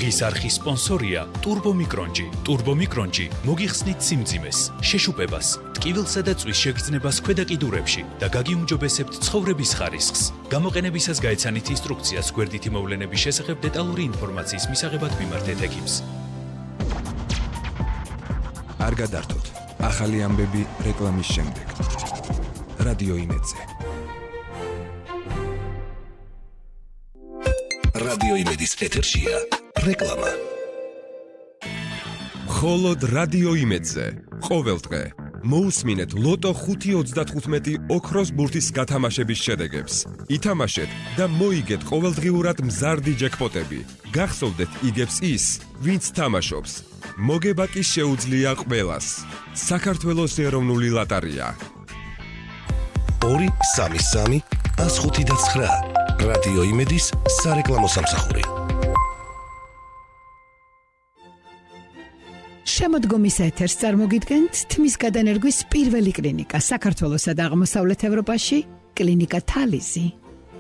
დღის არხის სპონსორია ტურბომიკრონჯი. ტურბომიკრონჯი მოგიხსნით სიმძიმეს, შეშუპებას, ტკივილსა და წვის შეგრძნებას ქვედა კიდურებში და გაგიუმჯობესებთ ცხოვრების ხარისხს. გამოყენებისას გაეცანით ინსტრუქციას გვერდითი მოვლენების შესახებ დეტალური ინფორმაციის მისაღებად მიმართეთ ექიმს. არ გადართოთ. ახალი ამბები რეკლამის შემდეგ. რადიო იმედზე. რადიო იმედის ეთერშია რეკლამა. მხოლოდ რადიო იმედზე. ყოველ დღე მოусმინეთ ლოტო 5.35 ოქროს ბურთის გათამაშების შედეგებს. ითამაშეთ და მოიგეთ ყოველდღიურად მზარდი ჯეკპოტები. გახსოვდეთ იგებს ის, ვინც თამაშობს. მოგება კი შეუძლია ყველას. საქართველოს ეროვნული ლოტარია. 2-3-3-105-9 რადიო იმედის სარეკლამო სამსახური. შემოდგომის ეთერს წარმოგიდგენთ თმის გადანერგვის პირველი კლინიკა საქართველოსა და აღმოსავლეთ ევროპაში, კლინიკა თალიზი.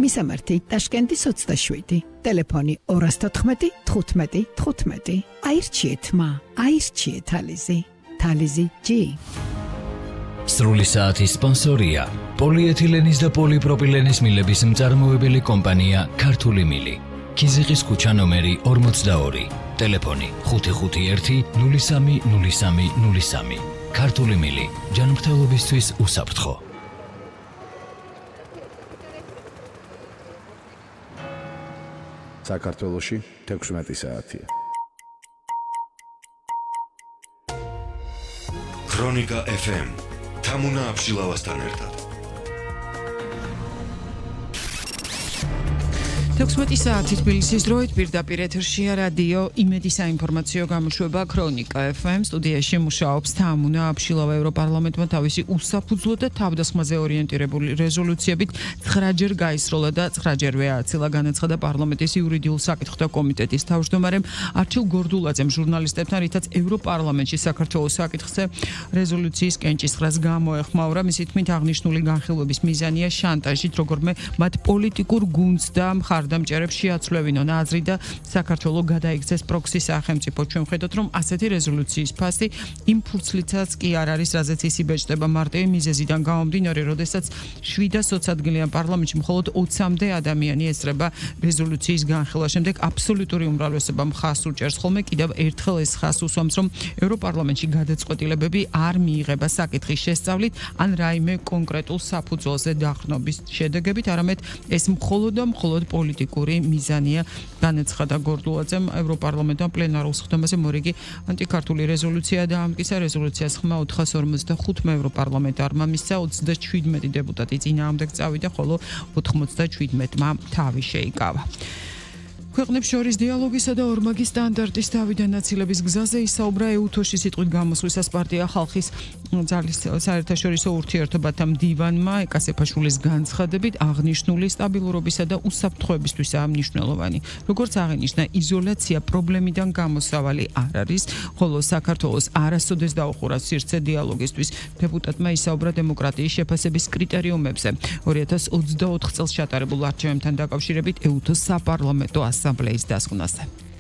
მისამართი ტაშკენტის 27, ტელეფონი 214 15 15. აირჩიეთ აირჩიეთ თალიზი. თალიზი G. სრული საათის სპონსორია პოლიეთილენის და პოლიპროპილენის მილების მწარმოებელი კომპანია ქართული მილი. ქიზიყის ქუჩა ნომერი 42, ტელეფონი 551 03 03 03. ქართული მილი, ჯანმრთელობისთვის უსაფრთხო. საქართველოში 16 საათია. ქრონიკა FM თამუნა აბშილავასთან ერთად. 16 საათი თბილისის დროით პირდაპირ ეთერშია რადიო იმედის საინფორმაციო გამოშვება ქრონიკა FM. სტუდიაში მუშაობს თამუნა აბშილავა. ევროპარლამენტმა თავისი უსაფუძვლო და თავდასხმაზე ორიენტირებული რეზოლუციებით 9-ჯერ გაისროლა და 9-ჯერვე ააცილა. განაცხადა პარლამენტის იურიდიულ საკითხთა კომიტეტის თავმჯდომარემ არჩილ გორდულაძემ ჟურნალისტებთან, რითაც ევროპარლამენტში საქართველოს საკითხზე რეზოლუციის კენჭისყრას გამოეხმაურა. მისი თქმით, აღნიშნული განხილვების მიზანია შანტაჟით როგორმე მათ პოლიტიკურ გუნდს და მხარდამჭერებს შეაცვლევინონ აზრი და საქართველოს გადაიქცეს პროქსი სახელმწიფო. ჩვენ ვხედოთ, რომ ასეთი რეზოლუციის ფასი იმ ფურცლითაც კი არ არის, რაზეც ის იბეჭდება მარტივი მიზეზიდან გამომდინარე, როდესაც 720 ადგილიან პარლამენტში მხოლოდ 20-მდე ადამიანი ესწრება რეზოლუციის განხილვა. შემდეგ აბსოლუტური უმრავლესობა მხარს უჭერს. ხოლმე კიდევ ერთხელ ეს ხაზს უსვამს, რომ ევროპარლამენტში გადაწყვეტილებები არ მიიღება საკითხის შესწავლით ან რაიმე კონკრეტულ საფუძველზე დახრნობის შედეგებით, არამედ ეს მხოლოდ პოლიტიკური მიზანია. განაცხადა გორდულაძემ. ევროპარლამენტმა პლენარულ სხდომაზე მორიგი ანტიქართული რეზოლუცია დაამტკიცა. რეზოლუციას ხმა 455 ევროპარლამენტარმა მისცა, 37 დეპუტატი წინააღმდეგ წავიდა, ხოლო 97-მა თავი შეიკავა. ქვეყნებს შორის დიალოგისა და ორმაგი სტანდარტის თავიდან ნაცილების გზაზე ისაუბრა ეუთოში სიტყვით გამოსვლისას პარტია ხალხის ძალის საერთაშორისო ურთიერთობათა მდივანმა ეკასეფაშვილის განცხადებით აღნიშნული სტაბილურობისა და უსაფრთხოებისთვისაა მნიშვნელოვანი. როგორც აღინიშნა, იზოლაცია პრობლემიდან გამოსავალი არ არის, ხოლო საქართველოს არასოდეს დაუხურა სივრცე დიალოგისთვის. დეპუტატმა ისაუბრა დემოკრატიის შეფასების კრიტერიუმებზე. 2024 წელს ჩატარებულ არჩევნებთან დაკავშირებით ეუთოს საპარლამენტო ასამბლეის დასკვნაზე.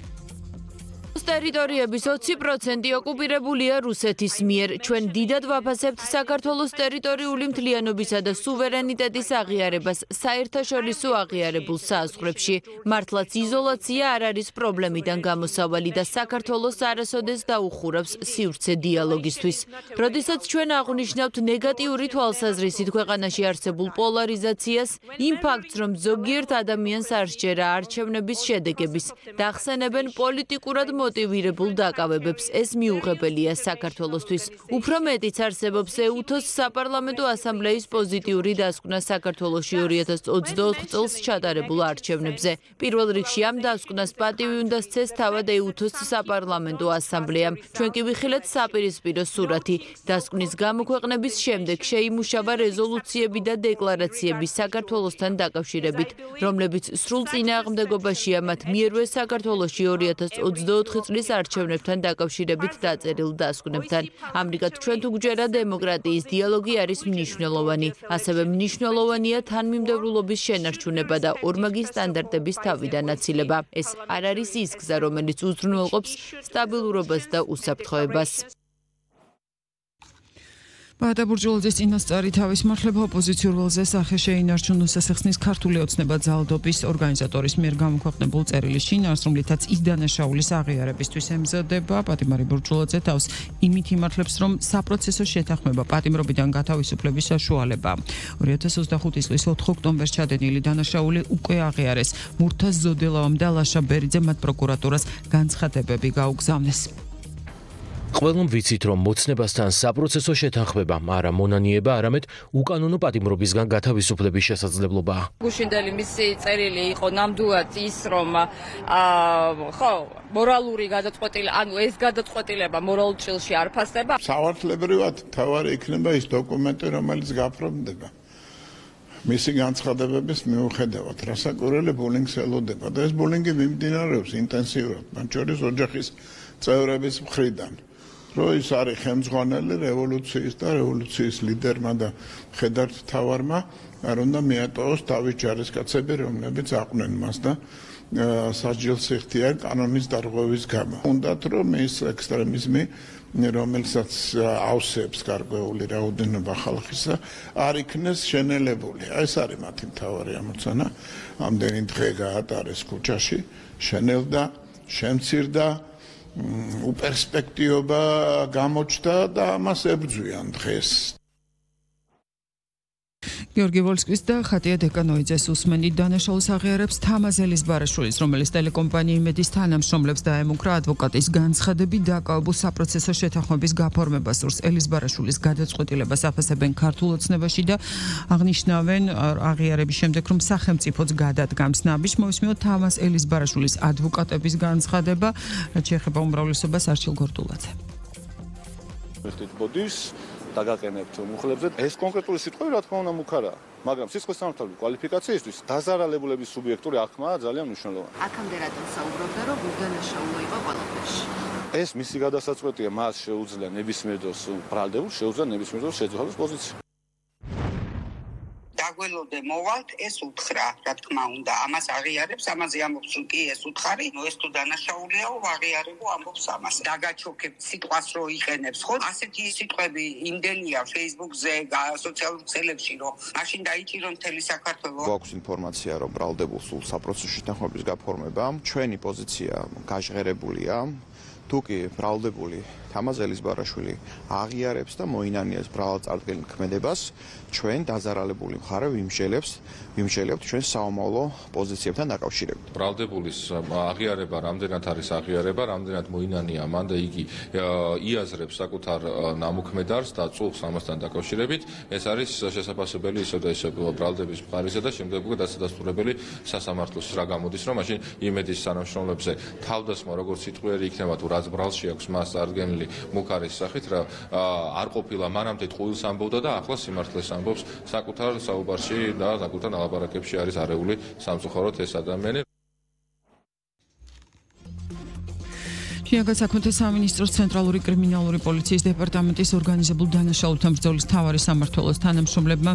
ტერიტორიების 20% ოკუპირებულია რუსეთის მიერ. ჩვენ დიდად ვაფასებთ საქართველოს ტერიტორიული მთლიანობისა და სუვერენიტეტის აღიარებას საერთაშორისო აღიარებულ საზღვრებში. მართლაც იზოლაცია არ არის პრობლემიდან გამოსავალი და საქართველოს არასოდეს დაუხურავს სივრცე დიალოგისთვის. როდესაც ჩვენ აღვნიშნავთ ნეგატიური თვალსაზრისით ქვეყანაში არსებულ პოლარიზაციას, იმ ფაქტს, რომ ზოგიერთ ადამიანს არ სჯერა არჩევნების შედეგების და ახსენებენ პოლიტიკურად მოტივირებულ დაკავებებს, ეს მიუღებელია საქართველოსთვის. უფრო მეტიც არსებობს ეუთოს საპარლამენტო ასამბლეის პოზიტიური დასკვნა საქართველოში 2024 წელს ჩატარებულ არჩევნებზე. პირველ რიგში ამ დასკვნას პატივი უნდა სცეს თავად ეუთოს საპარლამენტო ასამბლეამ. ჩვენ კი ვიხილეთ საპირისპირო სურათი. დასკვნის გამოქვეყნების შემდეგ შეიმუშავა რეზოლუციები და დეკლარაციები საქართველოსთან დაკავშირებით, რომლებიც სრულ წინააღმდეგობაშია მათ მიერვე საქართველოში 2024 წლის არჩევნებთან დაკავშირებით დაწერილ დასკვნებთან. ამრიგად, ჩვენ თუ გვჯერა დემოკრატიის დიალოგი არის მნიშვნელოვანი. ასევე მნიშვნელოვანია თანმიმდევრულობის შენარჩუნება და ორმაგი სტანდარტების თავიდან აცილება. ეს არ არის ის გზა, რომელიც უზრუნველყოფს სტაბილურობას და უსაფრთხოებას. ბაატა ბურჯულაძის წინასწარი თავის მართლება ოპოზიციურ ველზე სახე შეინარჩუნ უსასახსნის ქართული ოცნება ძალადობის ორგანიზატორის მიერ გამოქვეყნებულ წერილის შინაარსს, რომლითაც ის დანაშაულის აღიარებისთვის ემზადება. პატიმარი ბურჯულაძე თავს იმით იმართლებს, რომ საპროცესო შეთანხმება პატიმრობიდან გათავისუფლების საშუალება. 2025 წლის 4 ოქტომბერს ჩადენილი დანაშაული უკვე აღიარეს. მურთაზ ზოდელავამ და ლაშა ბერიძე მათ პროკურატურას განცხადებები გაუგზავნეს. ყველამ ვიცით, რომ მოცნებასთან საპროცესო შეთანხმება არა მონანიება, არამედ უკანონო პატიმრობისგან გათავისუფლების შესაძლებლობაა. გუშინდელი მისი წერილი იყო ნამდვილად ის, რომ მორალური გადაწყვეტილება, ანუ ეს გადაწყვეტილება მორალურ ჭრილში არ ფასდება. სავარცხლებრივად თავარი იქნება ის დოკუმენტი, რომელიც გაფორმდება. მისი განცხადებების მიუხედავად, რასაკვირველი ბულინგს ელოდება და ეს ბულინგი მიმდინარეობს ინტენსიურად, მათ შორის ოჯახის წევრების მხრიდან. რო ის არის ხელმძღვანელი რევოლუციის და რევოლუციის ლიდერმა და ხედართ თავარმა, არ უნდა მიატოვოს თავის ჯარისკაცები, რომლებიც აყვნენ მას და სასჯელს იხდიან კანონის დარღვევის გამო. უნდათ რომ ის ექსტრემიზმი, რომელსაც ავსებს გარკვეული რაოდენობა ხალხისა, არ იქნეს შენელებული. ეს არის მათი მთავარი ამოცანა. ამდენი დღე გაატარეს ქუჩაში, შენელდა, შემცირდა, უპერსპექტიობა გამოჩნდა და ამას ებრძვიან დღეს. გიორგი ვოლსკის და ხატია დეკანოიძეს უსმენდი დანაშაულს აღიარებს თამაზ ელიზბარაშვილის, რომელიც ტელეკომპანია იმედის თანამშრომლებს დაემუქრა ადვოკატის განცხადები დაკავებულ საპროცესო შეთანხმების გაფორმებას სურს. ელიზბარაშვილის გადაწყვეტილებას აფასებენ ქართულ ოცნებაში და აღნიშნავენ აღიარების შემდეგ, რომ სახელმწიფოც გადადგამს ნაბიჯს. მოვისმინოთ თამაზ ელიზბარაშვილის ადვოკატების განცხადება, რაც შეეხება უმრავლესობას არჩილ გორდულაძე. დაგაყენებთ მუხლებზე. ეს კონკრეტული სიტყვები რა თქმა უნდა მუქარაა, მაგრამ სისხლის სამართლებრივი კვალიფიკაციისთვის დაზარალებულების სუბიექტური აღქმა ძალიან მნიშვნელოვანია. აქამდე რატომ საუბრობდა, რომ უდანაშაულო იყო ყველაფერში? ეს მისი გადასაწყვეტია, მას შეუძლია ნებისმიერ დროს ბრალდებულს, შეუძლია ნებისმიერ დროს შეძვალოს პოზიცია. დაგველოდე მოვალთ, ეს უთხრა, რა თქმა უნდა, ამას აღიარებს, ამაზე ამბობს, რომ კი ეს უთხარი, ეს თუ დანაშაულიაო, აღიარებო ამბობს ამას. დაგაჩოქებთ სიტყვას რო იყენებს, ხო? ასეთი სიტყვები იმდენია Facebook-ზე, სოციალურ ქსელებში, რომ მაშინ დაიჭირო მთელი საქართველო. გვაქვს ინფორმაცია, რომ ბრალდებულს სულ საპროცესო შეთანხმების გაფორმება, ჩვენი პოზიცია გაჟღერებულია. თუკი ბრალდებული თამაზ ელიზბარაშვილი აღიარებს და მოინანიებს ბრალწარდგენ ქმედებას, ჩვენ დაზარალებული მხარე ვიმსჯელებთ ჩვენ საომავლო პოზიციებთან დაკავშირებით. ბრალდებულის აღიარება რამდენად არის აღიარება, რამდენად მოინანია მან და იგი იაზრებს საკუთარ ნამოქმედარს და წუხს ამასთან დაკავშირებით, ეს არის შესაძლებელი ისე და ისე ბრალდების მხარეზე და შემდეგ უკვე დასადასტურებელი სასამართლოს რა გამოდის, რომ მაშინ იმედის თანამშრომლებზე თავდასხმა როგორც სიტყვიერი იქნება თუ რაც ბრალში აქვს მას წარდგენილი მუქარის სახით რა არ ყოფილა მანამდე ტყუილს ამბობდა და ახლა სიმართლეს ამბობს საკუთარ საუბარში და საკუთარ ნალაპარაკებში არის არეული სამწუხაროდ ეს ადამიანი. შინაგან საქმეთა სამინისტროს ცენტრალური კრიმინალური პოლიციის დეპარტამენტის ორგანიზებულ დანაშაულთან ბრძოლის მთავარი სამმართველოს თანამშრომლებმა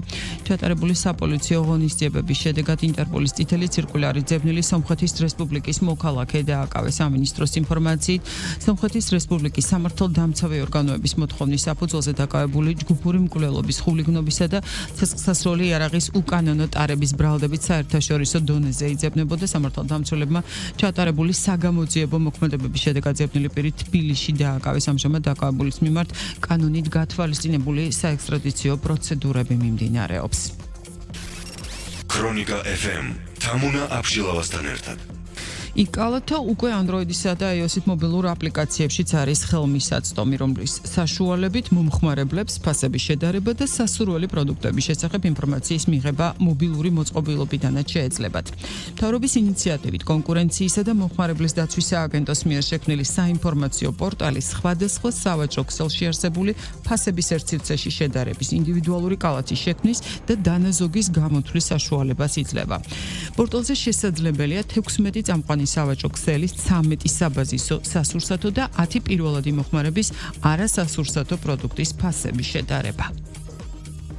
ჩატარებული საპოლიციო ღონისძიებების შედეგად ინტერპოლის წითელი ციρკულარი ძებნილი სომხეთის რესპუბლიკის მოქალაქე დააკავეს. სამინისტროს ინფორმაციით, სომხეთის რესპუბლიკის სამართალდამცავი ორგანოების მოთხოვნის საფუძველზე დაკავებული ჯგუფური მკვლელობის, ხულიგნობისა და ცეცხლსასროლი იარაღის უკანონო ტარების ბრალდებით საერთაშორისო დონეზე იძებნებოდა. სამართალდამცველებმა ჩატარებული საგამოძიებო მოქმედებების შედეგად ძებნილი პირი თბილისში დააკავეს. ამჟამად დაკავებულის მიმართ კანონით გათვალისწინებული საექსტრადიციო პროცედურები მიმდინარეობს. ქრონიკა FM თამუნა აბშილავასთან ერთად. იკალათა უკვე Android-ისა და iOS-ის მობილურ აპლიკაციებშიც არის ხელმისაწვდომი, რომლის საშუალებით მომხმარებლებს ფასების შედარება და სასურველი პროდუქტების შესახებ ინფორმაციის მიღება მობილური მოწყობილობიდანაც შეეძლებათ. მთავრობის ინიციატივით კონკურენციისა და მომხმარებლის დაცვის სააგენტოს მიერ შექმნილი საინფორმაციო პორტალი სხვადასხვა სავაჭრო ქსელში არსებული ფასების ერთ სივრცეში შედარების, ინდივიდუალური კალათის შექმნის და დანაზოგის გამოთვლის საშუალებას იძლევა. პორტალზე შესაძლებელია 16 წამყვანი სავაჭრო ქსელის 13 საბაზისო სასურსათო და 10 პირველადი მოხმარების არასასურსათო პროდუქტის ფასების შედარება.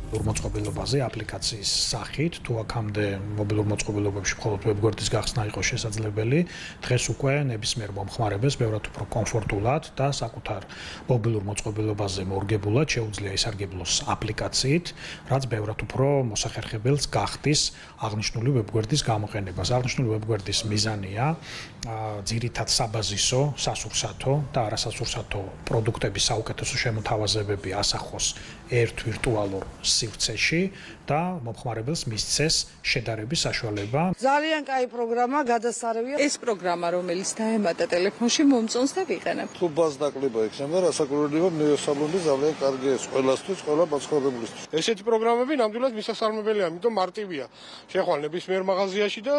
მოწყობილობაზე აპლიკაციის სახით თუ აქამდე მობილურ მოწყობილობებში მხოლოდ ვებგვერდის გახსნა იყო შესაძლებელი, დღეს უკვე ნებისმიერ მომხმარებელს ბევრად უფრო კომფორტულად და საკუთარ მობილურ მოწყობილობაზე მორგებულად შეუძლია ისარგებლოს აპლიკაციით, რაც ბევრად უფრო მოსახერხებელს გახდის აღნიშნული ვებგვერდის გამოყენებას. აღნიშნული ვებგვერდის მიზანია ძირითად საბაზისო, სასურსათო და არასასურსათო პროდუქტების საუკეთესო შემოთავაზებები ასახოს ერთ ვირტუალურ სივრცეში და მომხმარებელს მისცეს შედარების საშუალება. ძალიან კაი პროგრამა, გადასარევია. ეს პროგრამა, რომელიც დაემატა ტელეფონში, მომწონს და ვიყენებ. თუ ბაზდაკლება იქნება, რასაკურველია ნეოსაბლონი ძალიან კარგია ყველასთვის, ყველა მოწყობილისთვის. ესეთი პროგრამები ნამდვილად მისასალმებელია, ამიტომ მარტივია. შეხვალ ნებისმიერ მაღაზიაში და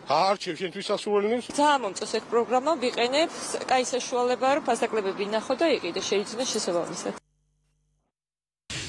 არჩევ შენთვის სასურველნებს. ძალიან მომწონს ეს პროგრამა, ვიყენებ, კაი საშუალებაა, რომ ბაზდაკლებები ნახო და იყიდე, შეიძლება შესაბამისად.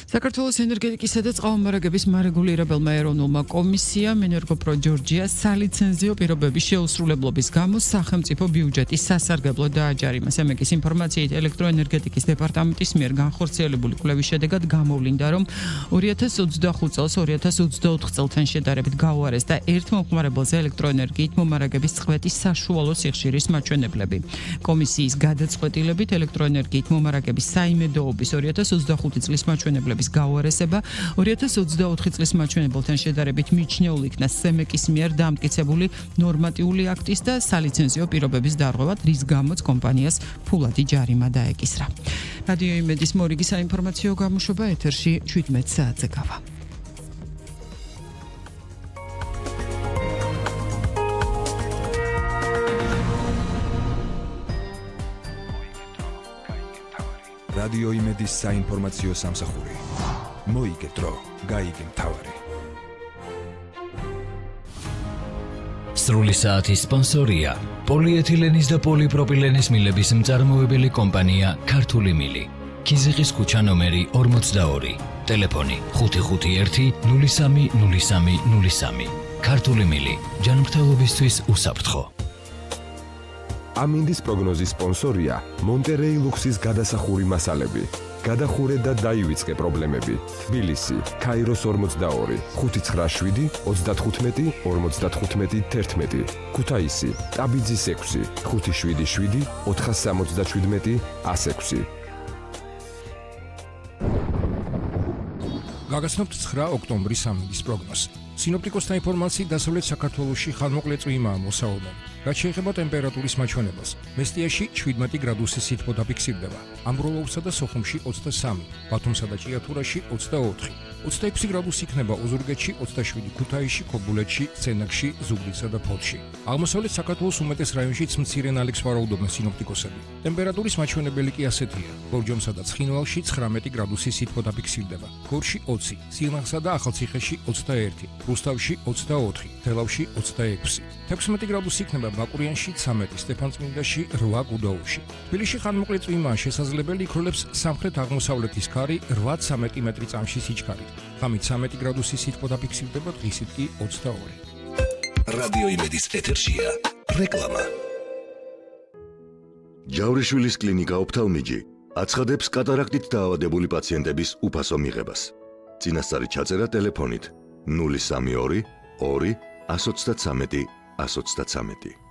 საქართველოს ენერგეტიკისა და წყალმომარაგების მარეგულირებელმა ეროვნულმა კომისიამ ენერგოპრო ჯორჯია სალიცენზიო პირობების შეუსრულებლობის გამო სახელმწიფო ბიუჯეტის სასარგებლო დააჯარიმა. ამეკის ინფორმაციით ელექტროენერგეტიკის დეპარტამენტის მიერ განხორციელებული კვლევის შედეგად გამოვლინდა, რომ 2025 წელს 2024 წელთან შედარებით გაუარეს და ერთ მომხმარებელზე ელექტროენერგიით მომარაგების წყვეტის საშუალო სიხშირის მაჩვენებლები. კომისიის გადაწყვეტილებით ელექტროენერგიით მომარაგების საიმედოობის 2025 წლის მაჩვენებლები გაუარესება 2024 წლის მაჩვენებელთან შედარებით მიჩნეულ იქნა სემეკის მიერ დამტკიცებული ნორმატიული აქტის და სალიცენზიო პირობების დარღვევად, რის გამოც კომპანიას ფულადი ჯარიმა დაეკისრა. რადიო იმედის მორიგი საინფორმაციო გამოშვება ეთერში 17 საათზე გავა. რადიო იმედის საინფორმაციო სამსახური. მოიგე დრო, გაიგე მთავარი. სრული საათის სპონსორია პოლიეთილენის და პოლიპროპილენის მილების მწარმოებელი კომპანია ქართული მილი. ქიზიყის ქუჩა ნომერი 42. ტელეფონი 551 03 03 03. ქართული მილი. ჯანმრთელობისთვის უსაფრთხო. ამინდის პროგნოზის სპონსორია მონტერეი ლუქსის გადასახური მასალები. გადახურე და დაივიწყე პრობლემები. თბილისი, ქაიროს 42, 597, 35, 55, 11. ქუთაისი, ტაბიძის 6, 577, 477, 106. გაგაცნობთ 9 ოქტომბრის ამინდის პროგნოზი. სინოპტიკოსთა ინფორმაციით დასავლეთ საქართველოში ხანმოკლე წვიმაა მოსაუბარი. რაც შეეხება ტემპერატურის მაჩვენებელს, მესტიაში 17 გრადუსი სითბო დაფიქსირდება, ამბროლოურსა და სოხუმში 23, ბათუმსა და ჭიათურაში 24, 26 გრადუსი იქნება ოზურგეთში, 27 ქუთაისში, ქობულეთში, სცენაკში, ზუგდიდსა და ფოთში. აღმოსავლეთ საქართველოს უმეტეს რაიონშიც მცირე ნალექს ვარაუდობენ სინოპტიკოსები. ტემპერატურის მაჩვენებელი კი ასეთია: ბორჯომსა და ცხინვალში 19 გრადუსი სითბო დაფიქსირდება, გორში 20, სილნახსა და ახალციხეში 21, რუსთავში 24, თელავში 26, 16 გრადუსი იქნება ბაკურიანში 13, სტეფანწმინდაში 8, გუდაუთში. თბილისში ხანმოკლე წვიმაა შესაძლებელი, იქროლებს სამხრეთ-აღმოსავლეთის ქარი 8-13 მეტრი წამში სიჩქარით. ღამით 13 გრადუსი სითბო დაფიქსირდება, დღისით კი 22. რადიო იმედის ეთერშია რეკლამა. ჯავრიშვილის კლინიკა ოფთალმიჯი აცხადებს კატარაქტით დაავადებული პაციენტების უფასო მიღებას. წინასწარი ჩაწერა ტელეფონით 032 2 133 133.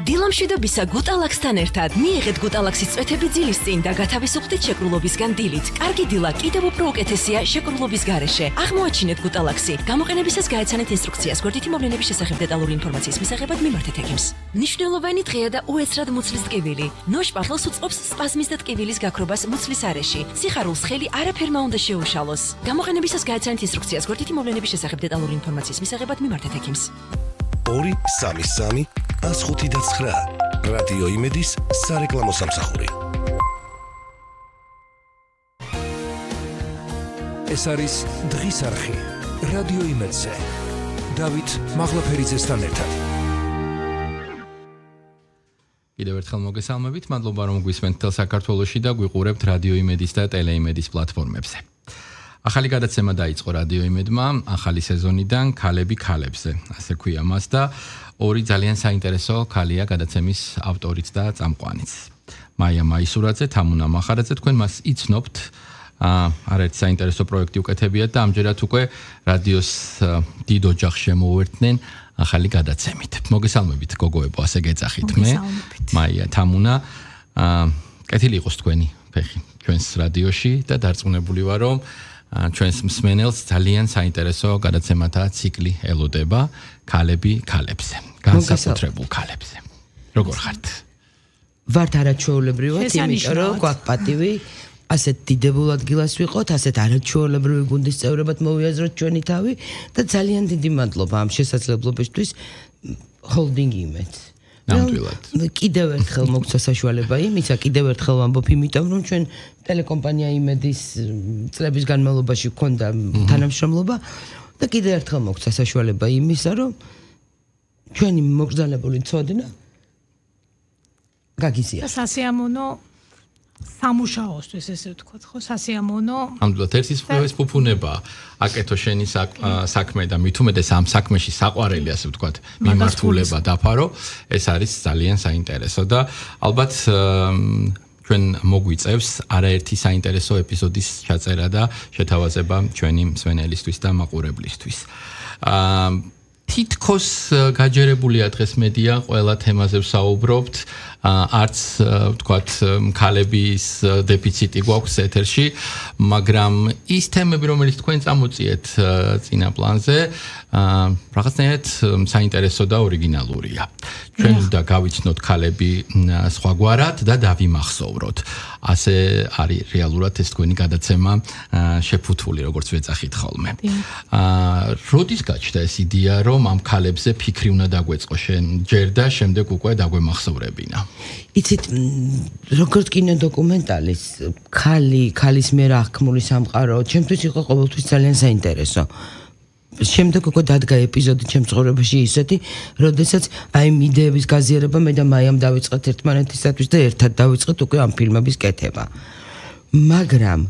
დილამშვიდობისა გუტალაქსთან ერთად მიიღეთ გუტალაქსის წვეთები ძილის წინ და გათავისუფლდით შეკრულობისგან დილით. კარგი დილა კიდევ უფრო უკეთესია შეკრულობის გარეშე. აღმოაჩინეთ გუტალაქსი. გამოყენებისას გაეცანეთ ინსტრუქციას. გვერდითი მოვლენების შესახებ დეტალური ინფორმაციის მისაღებად მიმართეთ ექიმს. მნიშვნელოვანი დღეა და უეცრად მუცლის ტკივილი. ნოშპახელს უწყობს სპაზმის და ტკივილის გაქრობას მუცლის არეში. სიხარულს ხელი არაფერმა უნდა შეუშალოს. გამოყენებისას გაეცანეთ ინსტრუქციას. გვერდითი მოვლენების შესახებ დეტალური ინფორმაციის მისაღებად მიმართეთ ექიმს. 233 159 რადიო იმედის სარეკლამო სამსახური. ეს არის დღის არხი რადიო იმედზე. დავით მაღლაფერიძესთან ერთად. კიდევ ერთხელ მოგესალმებით, მადლობა რომ გვისმენთ თელ საქართველოში და გვიყურებთ რადიო იმედის და ტელეიმედის პლატფორმებზე. ახალი გადაცემა დაიწყო რადიო იმედმა, ახალი სეზონიდან ქალები ქალებზე, ასე ქვია მას და ორი ძალიან საინტერესო ქალია გადაცემის ავტორიც და წამყვანიც. მაია მაისურაძე, თამუნა მახარაძე, თქვენ მას იცნობთ. არაერთი საინტერესო პროექტი უკეთებიათ და ამჯერად უკვე რადიოს დიდ ოჯახს შემოუერთდნენ ახალი გადაცემით. მოგესალმებით გოგოებო, ასე გეძახით მე. მაია, თამუნა, კეთილი იყოს თქვენი ფეხი ჩვენს რადიოში და დარწმუნებული ვარ, რომ ჩვენს მსმენელს ძალიან საინტერესო გადაცემათა ციკლი ელოდება ქალები ქალებზე, განსაკუთრებულ ქალებზე. როგორ ხართ? ვართ არაჩვეულებრივად, იმიტომ რომ გვაქვს პატივი ასეთ დიდებულ ადგილას ვიყოთ, ასეთ არაჩვეულებრივი გუნდის წევრებად მოვიაზროთ ჩვენი თავი და ძალიან დიდი მადლობა ამ შესაძლებლობისთვის holding image. ნამდვილად. კიდევ ერთხელ მოგცა საშუალება იმისა, კიდევ ერთხელ ვამბობ, იმიტომ რომ ჩვენ ტელეკომპანია იმედის წლების განმავლობაში გვქონდა თანამშრომლობა და კიდევ ერთხელ მოგცა საშუალება იმისა, რომ ჩვენი მოგზაურებული ცოდნა გაგიზიაროთ. სასიამოვნო სამუშაოსთვის ესე ვთქვათ, ხო, სასიამოვნო. ნამდვილად ერთის პროექტის ფუფუნება, აკეთო შენი საქმე და მით უმეტეს ამ საქმეში საყვარელი, ასე ვთქვათ, მიმართულება დაფარო, ეს არის ძალიან საინტერესო და ალბათ ჩვენ მოგვიწევს არაერთი საინტერესო ეპიზოდის ჩაწერა და შეთავაზება ჩვენი მსმენელისთვის და მაყურებლისთვის. თითქოს გაჯერებულია დღეს მედია, ყველა თემაზე ვსაუბრობთ. არც ვთქვათ ქალების დეფიციტი გვაქვს ეთერში, მაგრამ ის თემები, რომელიც თქვენ წამოწიეთ წინა პლანზე, რაღაცნაირად საინტერესო და ორიგინალურია. ჩვენ უნდა გავიცნოთ ქალები სხვაგვარად და დავიმახსოვროთ. ასე არის რეალურად ეს თქვენი გადაცემა შეფუთული, როგორც ვეძახით ხოლმე. როდის გაჩნდა ეს იდეა, რომ ამ ქალებზე ფიქრი უნდა დაგვეწყო ჯერ და შემდეგ უკვე დაგვემახსოვრებინა? იცით, როგორც კინოდოკუმენტალის ქალის მიერ აღქმული სამყარო, ჩემთვის იყო ყოველთვის ძალიან საინტერესო. შემდეგ უკვე დადგა ეპიზოდი ჩემს ცხოვრებაში ისეთი, როდესაც აი ამ იდეების გაზიარება მე და მაიამ დავიწყეთ ერთმანეთისათვის და ერთად დავიწყეთ უკვე ამ ფილმების კეთება. მაგრამ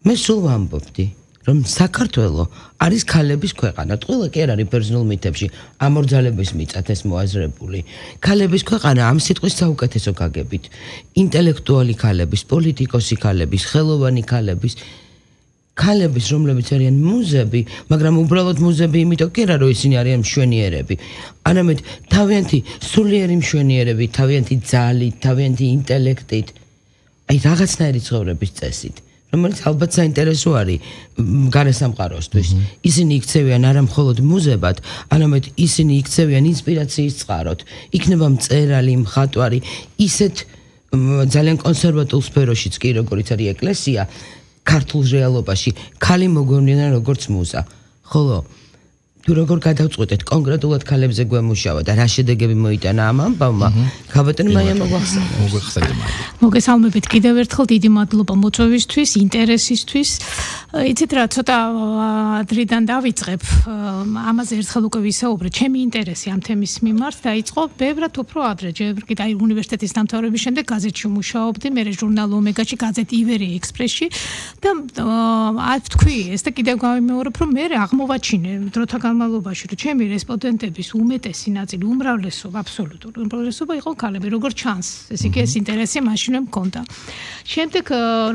მე სულ ვამბობდი, რომ საქართველო არის ქალების ქვეყანა. ყველა კი არ არის ბერძნულ მითებში ამორძალების მიწად ეს მოაზრებული. ქალების ქვეყანა ამ სიტყვის საუკეთესო გაგებით. ინტელექტუალი ქალების, პოლიტიკოსი ქალების, ხელოვანი ქალების, რომლებიც არიან მუზები, მაგრამ უბრალოდ მუზები იმიტომ კი არა, რომ ისინი არიან მშვენიერები. არამედ თავიანთი სულიერი მშვენიერები, თავიანთი ძალით, თავიანთი ინტელექტით, აი რაღაცნაირი ცხოვრების წესით. რომელიც ალბათ საინტერესო არის გარესამყაროსთვის. ისინი იქცევიან არა მხოლოდ მუზებად, არამედ ისინი იქცევიან ინსპირაციის წყაროდ. იქნება მწერალი, მხატვარი, ისეთ ძალიან კონსერვატულ სფეროშიც კი, როგორც არის ეკლესია, ქართულ რეალობაში, ქალი მოგვევლენა როგორც მუზა. ხოლო თუ როგორ გადავწყვეტეთ კონკრეტულად ქალებზე გვემუშავა და რა შედეგები მოიტანა ამ ამბავმა, ქაბატონ მაია მოგვეხსენებათ. მოგესალმებით კიდევ ერთხელ, დიდი მადლობა მოწვევისთვის, ინტერესისთვის. იცით რა, ცოტა ადრიდან დავიწყებ, ამაზე ერთხელ უკვე ვისაუბრე, ჩემი ინტერესი ამ თემის მიმართ დაიწყო ბევრად უფრო ადრე, ჯერ კიდე აი უნივერსიტეტის დამთავრების შემდეგ გაზეთში მუშაობდი, მე ჟურნალ ომეგაში, გაზეთ ივერი ექსპრესში და აი ვთქვი, ეს და კიდევ გავიმეორებ, რომ მე აღმოვაჩინე დროთა განმავლობაში, რომ ჩემი რესპონდენტების უმეტესი ნაწილი, უმრავლესობა, აბსოლუტური უმრავლესობა იყო ქალები, როგორც ჩანს. ეს იგი ეს ინტერესი მაშინვე მქონდა. შემდეგ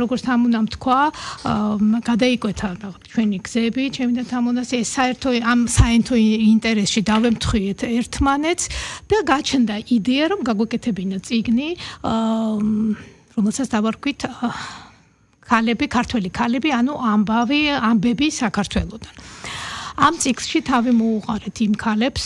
როგორც თამუნამ თქვა, გადაიკვეთა ჩვენი გზები, ჩემი და თამუნას ეს საერთო ინტერესში დავემთხვიეთ ერთმანეთს და გაჩნდა იდეა, რომ გაგვეკეთებინა წიგნი, რომელსაც დავარქვით ქართული ქალები, ანუ ამბები საქართველოდან. ამ ციკლში თავი მოუყარეთ იმ ქალებს,